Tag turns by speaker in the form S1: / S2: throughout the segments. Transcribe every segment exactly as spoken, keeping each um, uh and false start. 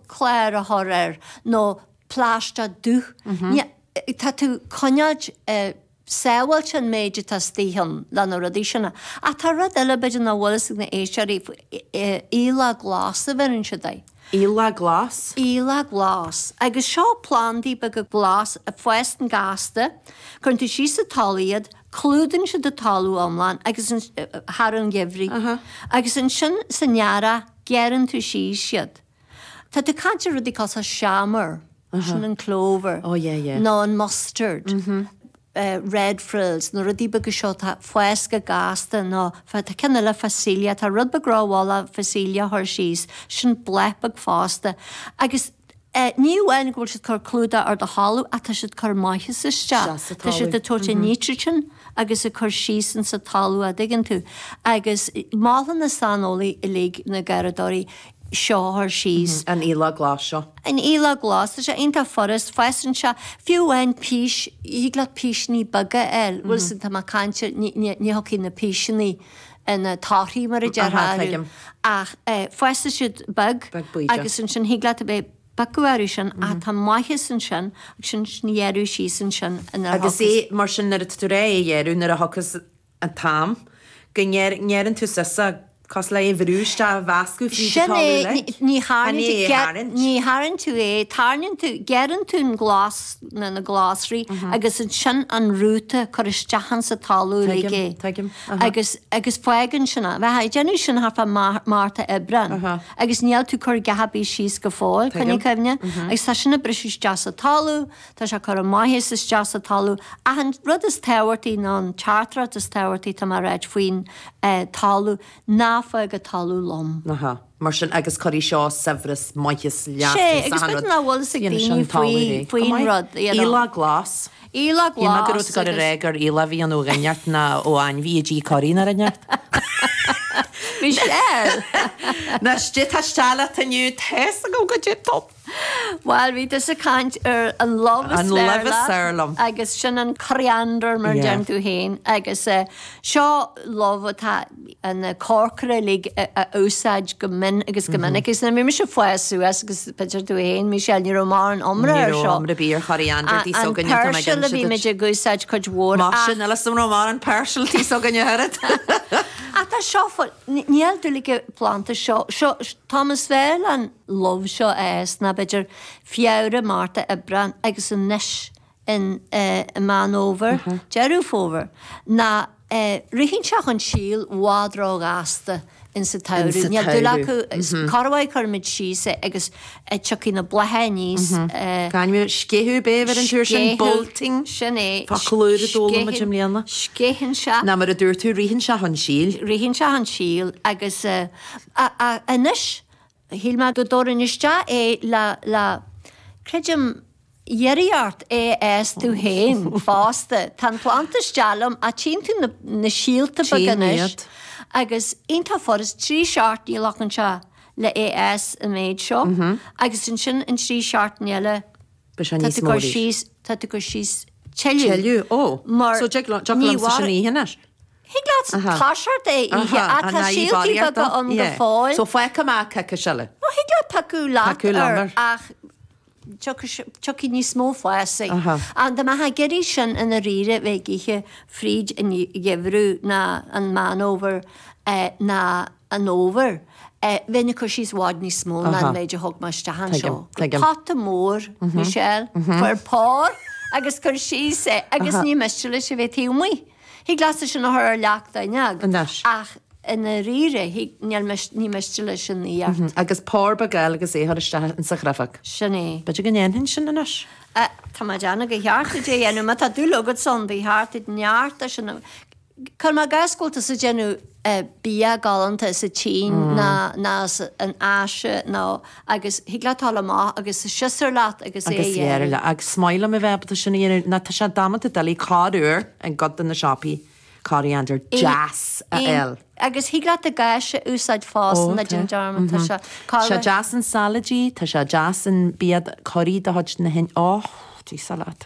S1: clár a chur air nó plaisteach dubh. Tá tú coinneáilt sábháilte an méid atá istigh ann le na rudaí sin. Ach tá rud eile b'fhéidir nach bhfuil fhios ag na éisteoirí, aoileach glas a bheireann siad air.
S2: Aoileach glas?
S1: Aoileach glas. Agus seo plandaí beaga glas a fásann gasta, cuireann tú síos sa talamh iad, clúdaíonn siad an talamh iomlán agus thar an gheimhridh. Agus ansin san earrach gearrann tú síos iad. Tá tú ag caint ar rudaí cosúil seamair, sin an clover,
S2: oh, yeah, yeah.
S1: nó an mustard. Mm -hmm. Uh, red frills, na rudaí beaga seo tá fás go gasta nó tá ceann eile phacelia, tá rud beag rómhall phacelia chur síos, sin bláth beag fosta. Agus uh, ní amháin go bhfuil siad cur clúdach ar do thalamh ach tá siad cur maitheas isteach. Tá siad ag tabhairt an nitrogen agus ag cur síos in sa talamh a dtuigeann tú. Agus molann na saineolaí uilig na garraíodóirí seo a chur síos.
S2: An aoileach glas seo.
S1: An aoileach glas, tá sé iontach furast, fásann sé, fiú amháin pís, thig leat píseanna beaga a fháil, bhfuil fhios tá mé ag caint ar, ní thiocfaidh na píseanna ina torthaí mar a déarfá orthu, ach fásfaidh siad beag agus ansin thig leat a bheith ag piocadh orthu sin ach tá maitheas ansin agus sin sin a ghearradh síos ansin
S2: ina Agus é mar sin nuair atá tú réidh é a ghearradh nuair a thiocfas an t-am go ngearrann tú suas é cosúil le é a bhrú isteach a mheascadh fríd an
S1: Sin
S2: talamh
S1: é,
S2: uilig.
S1: ní
S2: Chan
S1: tharraingt
S2: é a tharraingt.
S1: ní tharraingt tú é, tarraingíonn tú, gearrann tú an glas, na na glasraí agus ansin an rúta cur isteach insa talamh uilig
S2: Tuigim,
S1: é.
S2: tuigim, aha.
S1: Agus, agus fágann sin é. Bheifeá ag déanamh sin thart fá Márta, Aibreán
S2: Aha.
S1: agus níl tú cur dhath ar bith síos go fóill,
S2: Tuigim.
S1: coinnigh cuimhne. Agus tá sin ag briseadh isteach sa talamh, tá sé ag cur an maitheas isteach sa talamh. Ach an rud is tábhachtaí ná an teachtaireacht is tábhachtaí tá mé a ráit faoin talamh, ná fág an talamh lom.
S2: Aha, mar sin agus cuirfidh seo saibhreas, maitheas, leas
S1: Sé,
S2: is
S1: agus
S2: achan
S1: b'fhéidir
S2: rud.
S1: nach bhfuil fhios ag
S2: Dhéanfaidh
S1: daoine
S2: sin talamh
S1: faoi,
S2: réidh. Go
S1: faoin
S2: maith.
S1: rud, you know.
S2: Aoileach glas.
S1: Aoileach
S2: Shíl mé go raibh
S1: glas
S2: tú ag dul a
S1: agus.
S2: rá gur aoileach a bhí ann ó dhuine inteacht ná ó ainmhí a d'ith curry nó rud inteacht.
S1: Michelle!
S2: Ná istigh tá isteach leat inniu, tá's agam goidé tú.
S1: Bhuel, bhí tusa ag caint ar an lubh is
S2: An
S1: fearr
S2: lubh is
S1: leat
S2: fearr liom.
S1: agus sin an coriander mar a
S2: Yeah.
S1: deireann tú féin agus eh, seo lubh atá an corcaire uilig a a úsáid go mion agus go minic agus nuair a bhí mise ag fás suas agus b'fhéidir tú féin, Michelle, ní raibh mórán iomrá
S2: Ní
S1: ar
S2: raibh
S1: seo.
S2: iomrá ar bith ar choriander tí
S1: An
S2: s'againne, tá mé ag
S1: peirsil a
S2: inse
S1: bhí
S2: duit.
S1: muid ag úsáid cuid mhór
S2: Más
S1: ach
S2: sin, níl fhios agam an raibh mórán peirsil tí s'againne oiread.
S1: Ach tá seo fo- níl dúil ag an bplanda seo, seo, tá is fearr an lubh seo a fhás ná b'fhéidir Feabhra, Márta, Aibreán agus anois in i Meán Fhómhair, Deireadh Fómhair, ná ritheann sé chun síl i bhfad róghasta insa tsamhradh. Níl dúil acu, corruair cuirimid síos é agus tiocfaidh na blátha aníos.
S2: Gan sceitheadh b'fhéidir an tuair sin, bolting.
S1: Sin é.
S2: Focal úr a d'fhoghlaim muid i mbliana.
S1: Sceitheann sé.
S2: Ná mar a dúirt tú, ritheann sé chun síl.
S1: Ritheann sé chun síl agus anois shíl mé go dtabharfainn isteach é le, le, creidim, iarraidh ort é a fhás tú féin fosta. Tá an planda isteach liom ach tchíonn tú na, na síolta beaga
S2: Tchím
S1: anois
S2: iad.
S1: agus iontach furast, trí seachtaine a ghlacann sé le é a fhás an méid seo agus ansin an trí seachtaine eile
S2: Beidh sé
S1: tá
S2: níos
S1: tú
S2: mó
S1: cur
S2: arís.
S1: síos, tá tú cur síos tuilleadh.
S2: Tuilleadh, ó.
S1: Mar
S2: So dtig liom-
S1: ní
S2: liomsa sin
S1: mhair-
S2: a ithe anois.
S1: Thig leat toiseacht é a ithe ach tá síoltaí beaga ann go fóill.
S2: So fágfaidh mé coicís eile.
S1: Ó, thig leat piocadh leat
S2: Piocadh liom
S1: air
S2: air.
S1: ach tiocfaidh níos mó fásaigh. Ach dá mbeifeá ag iarraidh sin i ndáiríre bheith ag ithe fríd an gheimhreadh ná an Meán Fhómhair ná an fhómhar, bheinn ag cur síos i bhfad níos mó ná an méid a thug mé isteach anseo. Pota mór, Michelle, fuair pár agus cuir síos é agus ní miste leis a bheith taobh amuigh. Thig leatsa sin a chur ar leac d'fhuinneog.
S2: Anois.
S1: Ach i ndáiríre, thig, níl mis, ní miste leis an aíocht.
S2: Agus pár beag eile agus é a chur isteach insa chriofag.
S1: Sin é.
S2: B'fhéidir go ndéanfainn sin anois.
S1: Tá mé ag déanamh gur cheart duit é a dhéanamh. Má tá dúil agat ann, ba cheart duit neart de sin a. Cuir i gcás go bhfuil tusa ag déanamh bia galánta sa tSín ná ná san Áise nó agus thig leat dul amach agus siosúr leat agus é a
S2: Agus
S1: dhéanamh.
S2: dhéanamh. Agus is maith liom a bheith ábalta sin a dhéanamh. Ná tá sé damanta doiligh corruair i gcuid de na siopaí coriander deas a fháil.
S1: Agus thig leat an cáis a úsáid fosta, ná déan dearmad, tá sé
S2: Tá sé deas in salaidí, tá sé deas in bia curaí de chuid na hIn, oh, Dia leat.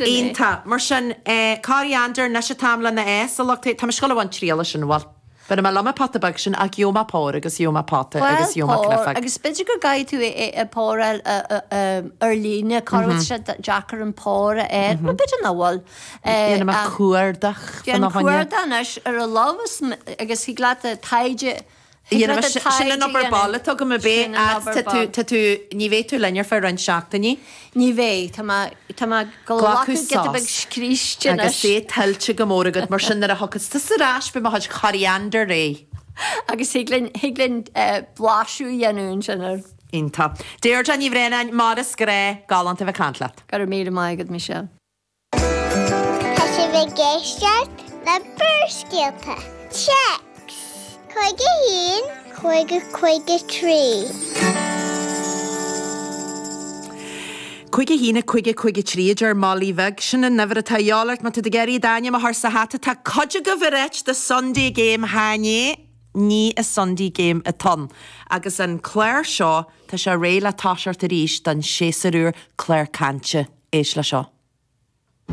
S2: Iontach. Mar sin, coriander, anois an t-am lena fhás, a lucht, tá mé ag gabháil a bhaint triail as sin, bhuel. Bheir mé liom an pota beag sin ach gheobhaidh mé pár agus gheobhaidh mé pota agus gheobhaidh mé cniofaigh.
S1: Agus b'fhéidir go gcaithfidh tú é páráil ar líne, cá bhfuil sé deacair an pár a fháil, nó b'fhéidir nach bhfuil.
S2: Dhéanfaidh mé cuardach
S1: Déan cuardach anois ar a lámh agus thig leat taighde
S2: Sin an obair baile atá agam a bheith tá tú ní bheidh tú linn ar feadh roinnt seachtainí.
S1: Ní bheidh, tá mé tá mé ag glacadh giota beag scríste
S2: anois. Agus é tuillte go mór agat, mar sin nuair a thiocfas tusa ar ais beidh mo chuid coriander réidh.
S1: Agus thig linn thig linn blaiseadh a dhéanamh ansin air.
S2: Iontach. Deirdre Ní Bhraonáin, mar is gnách, galánta a bheith ag caint leat.
S1: Go raibh míle maith agat, Michelle.
S3: Tá sibh ag éisteacht le Barrscéalta. Téacs cúig a haon, cúig a cúig a trí.
S2: Cúig a haon, cúig a cúig a trí a deir Molly Bheag. Sin an uimhir atá a dhíobháil ort má tá tú ag iarraidh d'ainm a chur sa hata. Tá cuid agaibh ag ráit the Sunday Game chan ea, ní an Sunday Game atá ann. Agus an clár seo, tá sé réidh le toiseacht arís don séasúr úr, clár cainte. Éist le seo.